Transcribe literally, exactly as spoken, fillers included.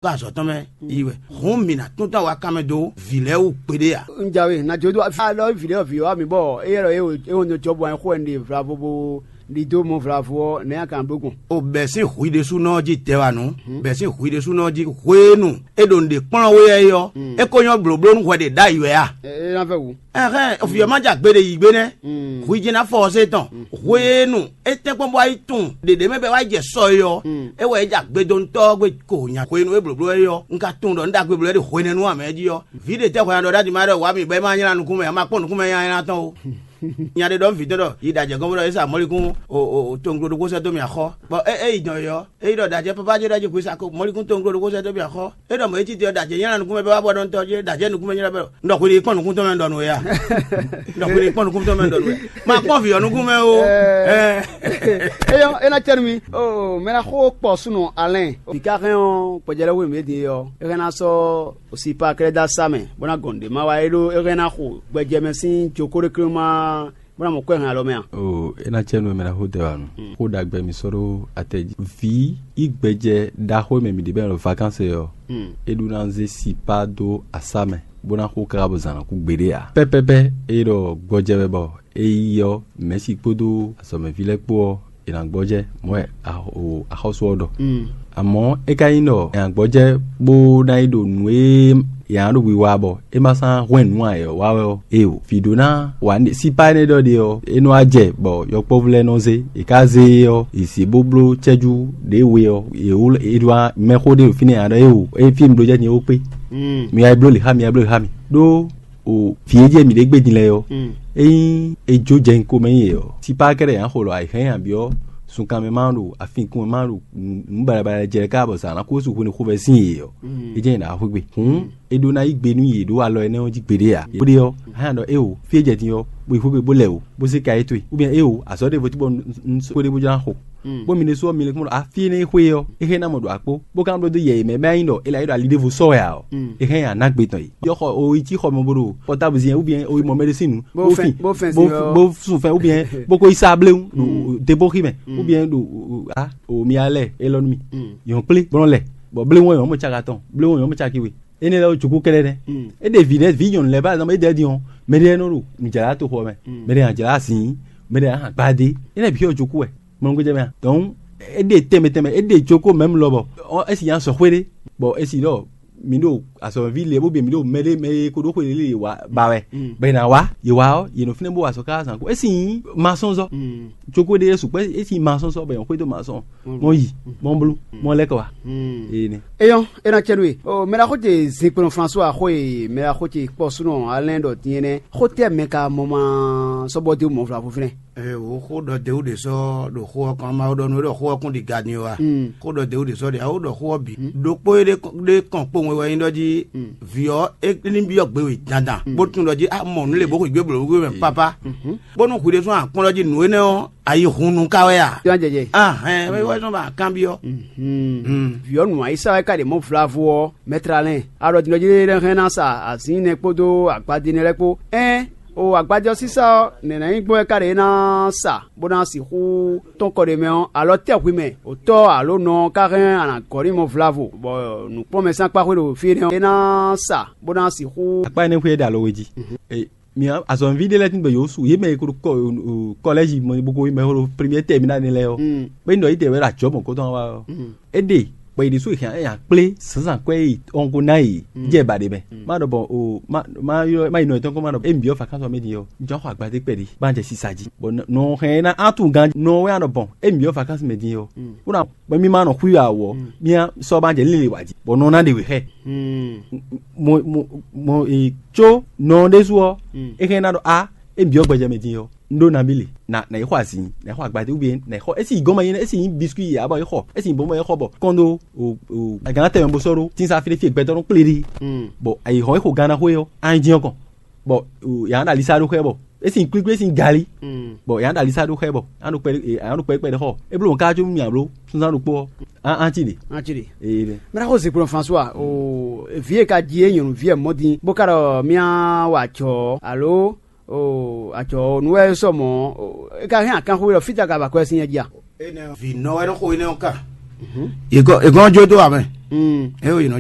Ɖo azɔ̌ tɔn mɛ yi wɛ. Hǔn mǐ ná tún tɔn wá kan mɛ dó vǐ lɛ́ɛ wú kpeɖé ǎ. Un jǎwe ná jó dó alɔ vǐ lɛ́ɛ vǐ wá mi bɔ éyɛ́ lɔ é wǒ nyɔ́ jɔ́bú wɛ xó ɛnɛ ɖe vlavo bó ɖi dó mɔ vlavo ɔ́, nɛ̌ a ka bló gbɔn? O bɛ̌ sín hwi ɖésúnɔ jí tɛ wá nǔ, bɛ̌ sín hwi ɖésúnɔ jí hwenu é ɖo nǔɖé kplɔ́n wé wɛ é ɔ́, é ko nyɔ́ blǒbló nú hwɛ ɖě ɖ'ayǐ wɛ a? É ná vɛ wǔ. Ɛhɛn, vǐ ɔ́ ma jɛ agbe ɖe yǐ gbé nɛ́. Hwi jí ná fɔ ɔ́ sé tɔn. Hwenu é tɛ́nkpɔ́n bɔ wá yi tunwun ɖěɖě mɛ bɔ é wá yi jɛ sɔ é ɔ́, é wɛ é jɛ agbedɔntɔ́ ɔ́ gbe ko nya. Hwenu é blǒbló é ɔ́, un ka tunwun ɖɔ un ɖagbe bló é ɖo hwenɛ́nu ǎ mɛ jí ɔ́, vǐ ɖě tɛ́ hwɛ nya ɖɔ ɖ'adǐ má ɖɔ wǎ mi bɔ é má nylá nukún mɛ ǎ, ma kpɔ́n nukún mɛ nyanya tɔn o. Nya ɖé ɖɔ nú vǐ tɔn ɖɔ yi ɖo ajɛ̌ gɔ́n bó ɖɔ é sa mɔ̌likún toŋglo ɖokpó sɛ́ dó mì axɔ́. Bɔ é é yi dɔn é ɔ́, é yi ɖɔ ɖajɛ papa ce ɖɔ jí hwi sa ko mɔ̌likún toŋglo ɖokpó sɛ́ dó mì axɔ́. É ɖɔ mɔ̌ é títí ɔ́, ɖajɛ nylá nukún mɛ bɔ wá bɔ ɖɔntɔ́ jí, ɖajɛ nukún mɛ nylá bɔ ɖɔ. Un ɖɔ hwi ɖi kpɔ́n nukún tɔn mɛ ɖɔ nú we a? Un ɖɔ hwi ɖi kpɔ́n nukún tɔn mɛ ɖɔ nú we. Ma kpɔ́n vǐ ɔ́ nukún mɛ o. Eyɔ́ é ná cɛ́ nú mi. Mɛ ná xó kpɔ súnɔ Alɛn. Vǐ ka hɛn ɔ́, gbɛjɛlɛ́ hwenu e ɖe ɔ́, é hɛn ná sɔ́ sipa kɛ́ɖɛ́ dó asá mɛ, bó ná gɔn nǔɖé má wa é ɖó é hɛn ná xo gbɛjɛ mɛ sín jokóɖéklé má bó ná mɔ kwɛ́ hɛn alɔ mɛ a? Oo, é ná cɛ nú we mɛ ná xó tɛ wá nu. Xó ɖagbe mi sɔ́ ɖó atɛ jí. Vǐ yi gbɛjɛ ɖaxó e mɛ mǐ ɖe bɛ́ nɔ ɖo vakánsɛ ɔ́, é ɖó ná zé sipa dó asá mɛ, bó ná xo káká bɔ zǎn ná kú gbeɖé ǎ. Pɛ́pɛ́pɛ́ é ɖɔ gbɔjɛ wɛ bɔ é yi ɔ́, mɛ̌si kpódó azɔ̌mɛví lɛ́ɛ kpó ɔ́, è nǎ gbɔjɛ́ mɔ̌ wɛ axɔ́sú ɔ́ ɖɔ. Amɔ̌ é ka nyí ɖɔ è nǎ gbɔjɛ́ bó ná yi ɖo nǔ e è nǎ ɖo wiwa bɔ é ma sán hwɛ́n nǔ ǎ é ɔ́ wa wɛ ɔ́, éeǒ. Vǐ ɖó ná wa sípá énɛ́ ɖɔ ɖe ɔ́, é nɔ wá jɛ bɔ yɔkpɔ́vú lɛ́ɛ nɔ zé; è ka zé e ɔ́, è zě bó bló cɛ́jú ɖě we ɔ́, è wló è ɖo mɛxó ɖé ɖo fínɛ́ ǎ ɖɔ éeǒ, é fí mi ɖó jɛ din é wó kpé. Mi wá yi bló lě xá mi, wá yi bló lě xá mi. Ɖó o vǐ e jɛ mǐ ɖě gbe din lɛ́ɛ ɔ́, ényí è jó jɛ nyi komɛ nyi yě ɔ́, sípá kɛ́ɖɛ́ ǎ xo lɔ ayǐhɛ́n abyɔ́ sunkan mɛ ma ɖo afinkun mɛ ma ɖo nǔ baɖabaɖa jɛ ká bɔ zǎn ná kó sú hwenu xovɛ́ sín yě ɔ́, é jɛ́n nyi ɖǎ xwé gbe. Hǔn é ɖó ná yí gbe nú yě ɖó alɔ énɛ́ ɔ́ jí gbeɖé ǎ. Bó ɖe ɔ́, hɛn ɖɔ éeǒ, fí e jɛ din ɔ́, bó yi xwé gbe bó lɛ wǔ, bó zé ka é towe, ubiɛn éeǒ, azɔ̌ ɖěvo tí bɔ un xó ɖé bó jlá xo. Bó mi ɖésú ɔ́, mi lɛ́ kpɔ́n ɖɔ afí énɛ́ e xwé ɔ́, é hɛn ná mɔ ɖo akpó, bó ka nɔ bló dó yɛ yě mɛ bɔ é nyí ɖɔ è lǎ yi ɖo ali ɖěvo sɔ́ wɛ ǎ ɔ́, é hɛn nyi aná gbe tɔn yě. Yɔ xɔ o yi cí xɔ mɛ bó ɖo pɔtábu zin, ubiɛn o yi mɔ mɛɖé sín nǔ, bó fɛn, bó fɛn sin ɔ́, bó sun fɛn, ubiɛn bó ko yi sá bléwu ɖo debóxi mɛ, ubiɛn ɖo a o mi alɛ é lɔ nú mi. Yɔn kplé bó nɔ lɛ, bɔ bléwu ɔ́ yɔn mɔ caka tɔn, bléwu ɔ́ yɔn mɔ caki we. Énɛ́ lɛ́ɛ ɔ́, jokú kɛ́ɖɛ́ nɛ́. É ɖe vǐ lɛ́ɛ, vǐ nyɔ̌nu lɛ́ɛ bá zɔn bɔ é ɖɛ́ din ɔ́, mɛɖé lɛ́ɛ nɔ ɖo nǔjlá to xɔ mɛ, mɛɖé nɔ jlá azǐn, mɛɖé nɔ gbadé. Énɛ́ bǐ ɔ́ jokú wɛ, mɔnɔgbéjɛ mɛ a? Donc é ɖe tɛnmɛ tɛnmɛ, é ɖe jokó mɛ̌m lɔ bɔ é si nyi azɔ̌xwé ɖé, bɔ é si ɖɔ mǐ ɖo azɔ̌ví lě bó bǐ mǐ ɖo mɛɖé mɛ e ko ɖó xwe lě lě wá ba wɛ, bɔ è nǎ wá, yě wá ɔ́, yě nɔ fínɛ́ bó wa azɔ̌ káká zǎn kú. É si nyí masɔ́nzɔ́, jokó ɖé sukpɔ́, é si nyí masɔ́nzɔ́ bɔ è nɔ xwedó masɔ́n, mɔ yi, mɔ bló, mɔ lɛ́ kɔ wá. Énɛ́. Eyɔ́, é ná cɛ nú we. Mɛ ɖaxó ce zinkpɔ́n François xó e mɛ ɖaxó ce kpɔ súnɔ Alain ɖɔ din é nɛ́. Xó tɛ́ mɛ ka mɔ ma sɔ́ bɔ dó mɔ̌ vlavo fínɛ́? Ee, wǒ xó ɖɔ Dewú ɖě sɔ́ ɖo xó ɔ́ kɔn, Mawu ɖɔ nú é ɖɔ xó ɔ́ kún ɖi ga din ɔ́ a? Xó ɖɔ Dewú ɖě sɔ́ ɖe, a ó ɖɔ xó ɔ́ bǐ. Ɖokpó e ɖe kɔn kpó wɛ wɛ nyí ɖɔ jí vǐ ɔ́ é ní byɔ́ gbe we dandan, bó tunwun ɖɔ jí a mɔ nǔ lě bó xwǐgbe blǒ wú mɛ pápá, bónú hwi ɖésú a kpɔ́n ɖɔ jí nǔ énɛ́ ɔ́, a yi hun nú ká wɛ a? Yɔ́ jɛjɛ. Ahɛn, é wɛ zɔ́n ba kanbyɔ́. Vǐ ɔ́ nǔ ayísá wɛ ka ɖe mɔ̌ vlavo ɔ́, mɛtralɛn, a ɖɔ din ɖɔ jí é hɛn ná sa azǐn nɛ kpódó agbadé nɛ lɛ́ɛ kpó. Ɛ́n, o agbadé ɔ́ sísá ɔ́, nɛ̌ ná nyí gbɔn wɛ ka ɖe é ná sa, bó ná sixú tɔ́n kɔ ɖe mɛ ɔ́, alɔ tɛ́ hwi mɛ, o tɔ́ alo nɔ ɔ́ ka hɛn a nǎ gɔ́ n'i mɔ vlavo, bɔ nǔkplɔ́nmɛ sín akpá xwé ɖo fí énɛ́ ɔ́, é ná sa, bó ná sixú. Akpá énɛ́ xwé é ɖo alo we jí. Mi azɔ̌mɛví ɖé lɛ́ɛ tín gbɛ yǒ su yě mɛ e ko ɖo kɔlɛ́zi mɛ bó ko mɛ ko ɖo première terminale lɛ́ɛ ɔ́, bó nyí ɖɔ yě tɛ wɛ ɖo ajɔ̌ mɔ̌kɔtɔn wa ɔ́, é ɖe bɔ yě ɖésú è hɛn nya kplé zǎnzǎn kwɛ́ e ɔngo ná yě jɛ ba ɖe mɛ. Má ɖɔ bɔ o má má ylɔ́ má yi nɔ yětɔn kɔn má ɖɔ é mǐ byɔ́ vacances mɛ din ɔ́, jɔ́n xɔ agbadé kpɛɖé bá jɛ sisa jí. Bɔ nɔ hɛn é ná á tunwun gán nɔ wɛ á ɖɔ bɔn é mǐ byɔ́ vacances mɛ din ɔ́, bó ná bɔ mì ma nɔ xwí wɛ awɔ, mía sɔ́ ma jɛ líle wǎ jí, bɔ nɔ ná ɖe wě xɛ. Mo mo mo e tso nɔ ɖésú ɔ́, é hɛn ná ɖɔ a, é byɔ́ gbɛjɛ mɛ din ɔ́, un ɖó nabí le, na na yi xɔ azǐn, na yi xɔ agbadé, ou bien na yi xɔ, esi yi gɔ́n ma nyí, esi yi biscuit yi abɔ yi xɔ, esi yi bɔn ma yi xɔ bɔ kɔn ɖó o o agǎn tɛmɛ bó sɔ́ ɖó tínsá fíɖéfíɖé gbɛtɔ́ nɔ kplé ɖi, bɔ ayi xɔ é xo gánná xó é ɔ́, a nyi dín ɔ́ kɔn. Bɔ yǎ ɖo alisa ɖó xɛ bɔ esi kpíkpí esi gali. Bɔ yǎ ɖo alisa ɖó xɛ bɔ yǎ ɖo kpɛ yǎ ɖo kpɛ kpɛ ɖe xɔ e bló ká jó mì abló sunzan ɖokpó ɔ́. An ti ɖe. An ti ɖe. Ee ɖe. Mira ko zikplɔn François o vi e ka ji e nyɔnu vi e mɔ din bó ka ɖɔ mía wa jɔ alo o ajɔ nu wɛ sɔ mɔ e ka hɛn akanxu ɖɔ fita ka ba kɔ sin nya ji a? Vǐ nɔ wɛ nɔ xo énɛ́ ɔ́ ka. Yě gɔ́ jó dó amɛ. Mm. É o yě nɔ